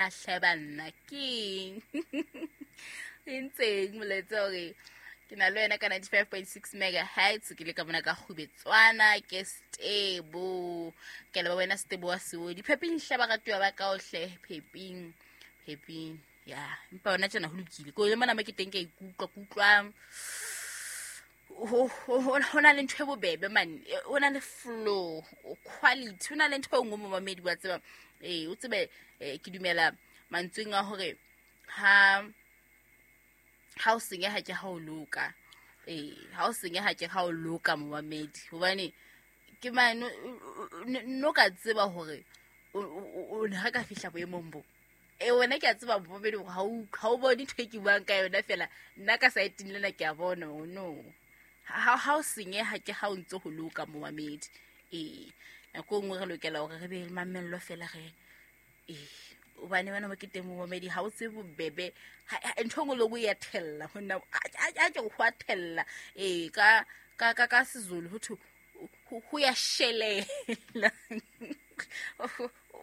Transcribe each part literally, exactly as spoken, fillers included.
Hle banna keng e ntseng molaetsa hore ke na le wena ka ninety-five point six megahertz ke le ka mona ka Kgubetswana ke Stebo ke le wena Stebo wa Seodi pheping hle baratuwa ba ka ohle pheping pheping ya empa hona tjena ho lokile ko le mona mo ke teng ke ikutlwa ke utlwa ho ho na le ntho e bobebe man o na le flow quality o na le ntho e nngwe momamedi wa tseba eh o tsebe ke dumela mantsweng a hore ha ha o senyeha ke ha o loka eh ha o senyeha ke ha o loka momamedi hobane ke mane no ka tseba hore o ne ha ka fihla boemong bo e wena ke a tseba momamedi hore ha o ha o bone ntho e ke buang ka yona fela nna ka saeteng lena ke a bona no ha ha o senyeha ke ha o ntse ho loka momamedi eh nako e nngwe re lokela hore re be le mamello fela re eh hobane bana ba ke teng momamedi ha o tsebe bobebe ntho e nngwe le nngwe ya thella ho nna a ke ho a thella eh ka ka ka ka Sezulu ho thwe ho ya shelela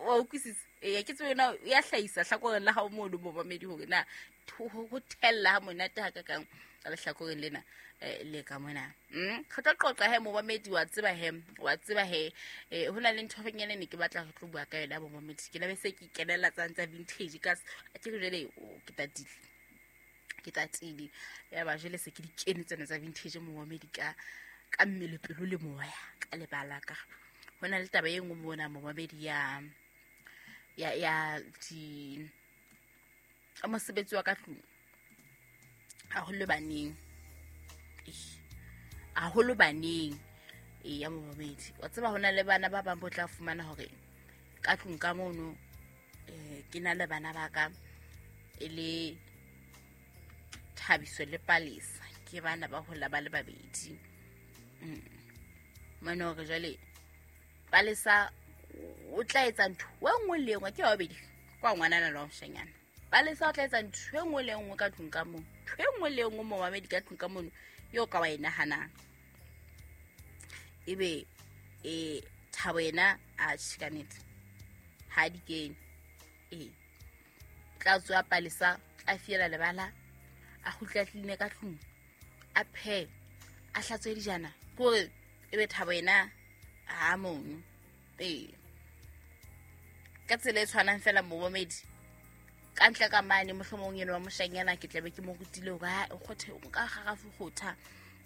wa utlwisisa eh ke tsebe na ya hlahisa hlakoreng la hao mono momamedi hore na ho thella ha monate ha ka kang ka lehlakoreng lena le ka mona mm re tlo qoqa he momamedi wa tseba he wa tseba he eh ho na le ntho e nyane ne ke batla re tlo bua ka yona momamedi ke la be se ke kenela tsang tsa vintage ka ke re jwale ke tatile ke tatile ya ba jwale se ke di kene tsena tsa vintage momamedi ka ka mmele pelo le moya ka lebala ka ho na le taba e nngwe mona momamedi ya ya ya di mosebetsi wa ka tlung haholo baneng haholo baneng e ya momamedi wa tseba hona le bana ba bang bo tla fumana hore ka tlung ka mono eh ke na le bana ba ka e le Thabiso le Palesa ke bana ba hola ba le babedi mm mona hore jwale Palesa o tla etsa ntho e nngwe le nngwe ke ba babedi kwa ngwanana le wa moshanyana Palesa o tla etsa ntho e nngwe le nngwe ka tlung ka mono ntho e nngwe le nngwe momamedi ka tlung ka mono yo ka wa e nahanang ebe e Thabo yena a tjhe ka nnete ha di kene eh tla tswa Palesa a fiela lebala a kgutla tline ka tlung a phe a hlatswe dijana kore ebe Thabo yena ha mono eh ka tsela e tshwanang fela momamedi ka ntle ka mane mohlomong eno wa moshanyana ke tlabe ke mo rutile hore ha o kgothe nka garafu kgotha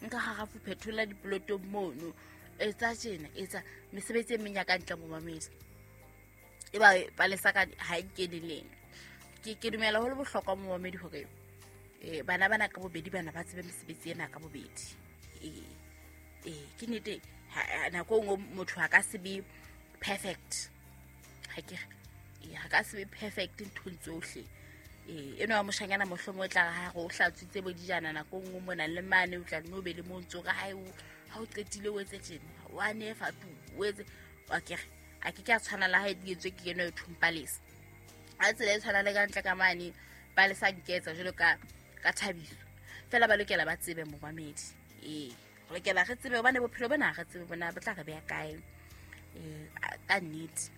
nka garafu phethola dipolotong mono etsa tjena etsa mesebetsi e meng ya ka ntle momamedi e ba Palesa ka ha e kene leng ke ke dumela ho le bohlokwa momamedi hore eh bana bana ka bobedi bana ba tsebe mesebetsi ena ka bobedi eh eh ke nnete nako e nngwe motho a ka se be perfect ha ke ha ka se be perfect nthong tsohle eh eno wa moshanyana mohlomong o tla re ha re o hlatswitse bo dijana nako nngwe mona le mane o tla nno be le mo ntso re ha o ha o qetile o etse tjena wa nefa tu o etse wa ke re a ke ke a tshwana la ha e etswe ke eno e thumpalesa a tsela e tshwana le ka ntle ka mane Palesa nketsa jwalo ka ka Thabiso fela ba lokela ba tsebe momamedi eh re lokela re tsebe hobane bophelo bona re tsebe bona bo tla re beha kae eh ka nnete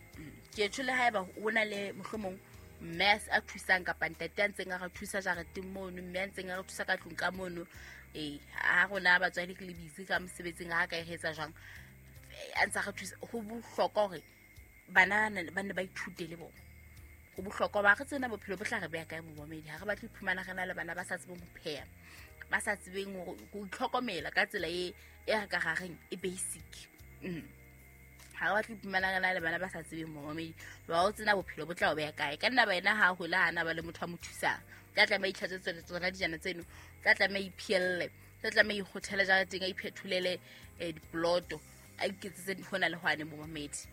ke tshole haeba o na le mohlomong mme a thusang kapa ntate a ntseng a re thusa jareteng mono mme a ntseng a re thusa ka tlung ka mono eh ha rona batswadi ke le busy ka mosebetsing ha ka e etsa jwang a ntsa re thusa ho bohlokwa hore bana ba ne ba ithute le bona ho bohlokwa ba re tsena bophelo bo tla re beha kae momamedi ha re batle ho iphumana re na le bana ba sa tsebeng ho pheha ba sa tsebeng ho itlhokomela ka tsela e e re ka rareng e basic mm ha re batle ho iphumana re na le bana ba sa tsebeng momamedi ba o tsena bophelo bo tla o beha kae ka nna ba ena ha hola hana ba le motho a mo thusang tla tlameha itlhatswe tsona dijana tseno tla tlameha iphielle tla tlameha ikgothele jareteng a iphetholele diploto a iketsetse hona le hwane momamedi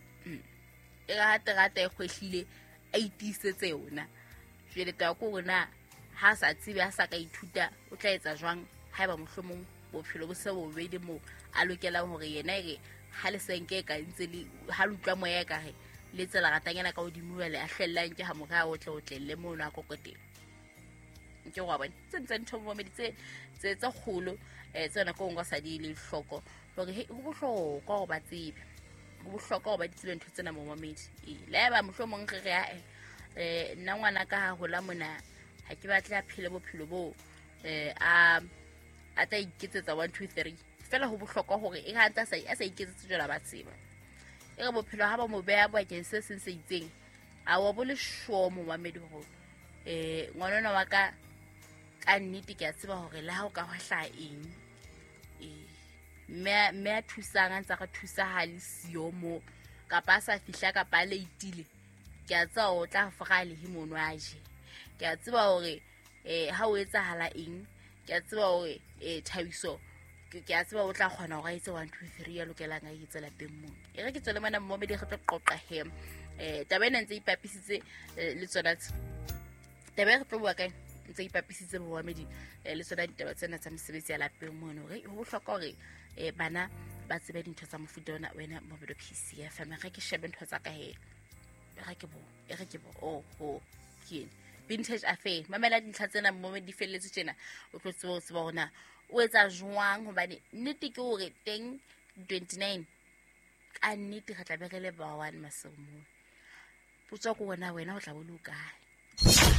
e re ha terata e kgwehlile a itiisetse yona jwale taba ke hore na ha sa tsebe ha sa ka ithuta o tla etsa jwang haeba mohlomong bophelo bo se bobedi moo a lokelang hore yena e re ha le senke e ka ntse le ha le utlwa moya e ka re le tsela ratanyana ka hodimo jwale a hlellang ke ha morao o tle o tlelle mono a kokoteng ke wa bona tse ntse ntho momamedi tse tse tse kgolo eh tse nako nngwe sa di le hloko hore ho bohlokwa hore ba tsebe ho bohlokwa hore ba di tsebe ntho tsena momamedi eh le ba mohlomong re re a um nna ngwana ka ha hola mona ha ke batle a phele bophelo boo um a a tla iketsetsa one two three fela ho bohlokwa hore e ha ntse a sa a sa iketsetse jwalo ba tseba e re bophelo ha ba mo beha bakeng se seng se itseng a wa bo le sure momamedi hore um ngwana ona wa ka ka nnete ke a tseba hore le ha o ka hwa hlaha eng ee mme mme a thusang a ntse a re thusa ha le siyo mo kapa a sa fihla kapa a leitile ke a tseba hore o tla fora lehe mono a je ke a tseba hore um ha o etsahala eng ke a tseba hore um thabiso ke ke a tseba o tla kgona hore a etse one two three ya lokelang a etse lapeng mono e re ke tswele mona mmomedi re tlo qoqa he um taba ena ntse ipapisitse eh, le tsona tse taba e re tlo bua ka ntse ipapisitse bomamedi eh, le tsona ditaba tsena tsa mesebetsi ya lapeng mono hore ho bohlokwa hore um bana ba tsebe dintho tsa mofuta ona wena mobedo p c f m ge ke shebe ntho tsa ka he e re ke bo e re ke bo oho ke ene vintage affair mamela dintlha tsena mo di felletse tjena o tlo tseba ho tseba hore na o etsa jwang hobane nnete ke hore teng twenty nine ka nnete re tla be re le ba one maseong moo potso ko wena wena o tla bo le o kae